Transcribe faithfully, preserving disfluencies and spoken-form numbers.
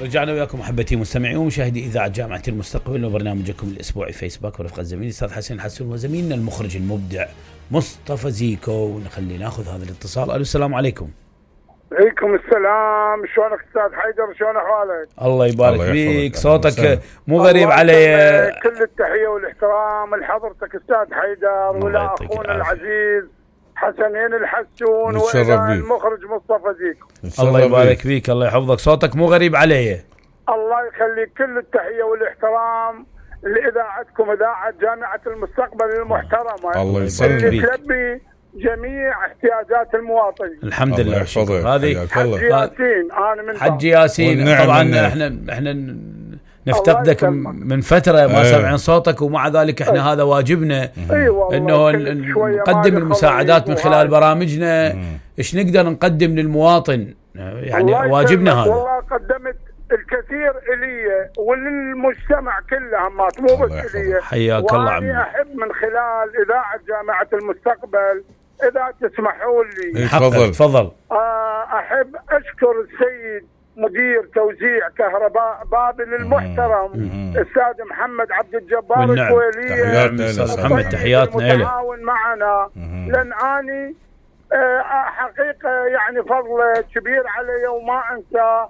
رجعنا وياكم محبتي مستمعين ومشاهدي إذاعة جامعة المستقبل وبرنامجكم الأسبوعي فيسبوك ورفقة زميلي الأستاذ حسين حسون وزميلنا المخرج المبدع مصطفى زيكو. ونخلي ناخذ هذا الاتصال. ألو السلام عليكم. عليكم السلام. شلونك أستاذ حيدر؟ شلون أحوالك؟ الله يبارك فيك. صوتك مو غريب علي. كل التحية والاحترام لحضرتك أستاذ حيدر ولا أخونا العزيز حسنين الحسون وإلى المخرج مصطفى زيكو. الله يبارك فيك. الله يحفظك. صوتك مو غريب علي. الله يخليك. كل التحية والاحترام لإذاعتكم إذاعة جامعة المستقبل المحترمة الله يسلمك. اللي تلبي جميع احتياجات المواطنين. الحمد لله. هذه حج ياسين. أنا من حج ياسين. طبعا احنا احنا نفتقدك من فترة ما سمعنا صوتك ومع ذلك احنا أيه. هذا واجبنا أيه انه نقدم المساعدات من خلال برامجنا. ايش نقدر نقدم للمواطن يعني واجبنا هذا. والله قدمت الكثير إلي وللمجتمع كله مو بس إلي. حياك الله عمي. وأنا أحب من خلال إذاعة جامعة المستقبل إذا تسمحوا لي تفضل تفضل أحب أشكر السيد مدير توزيع كهرباء بابل المحترم الأستاذ محمد عبد الجبار الكويلي. محمد تحياتنا له. المتعاون معنا لأن أني حقيقة يعني فضل كبير علي وما أنسى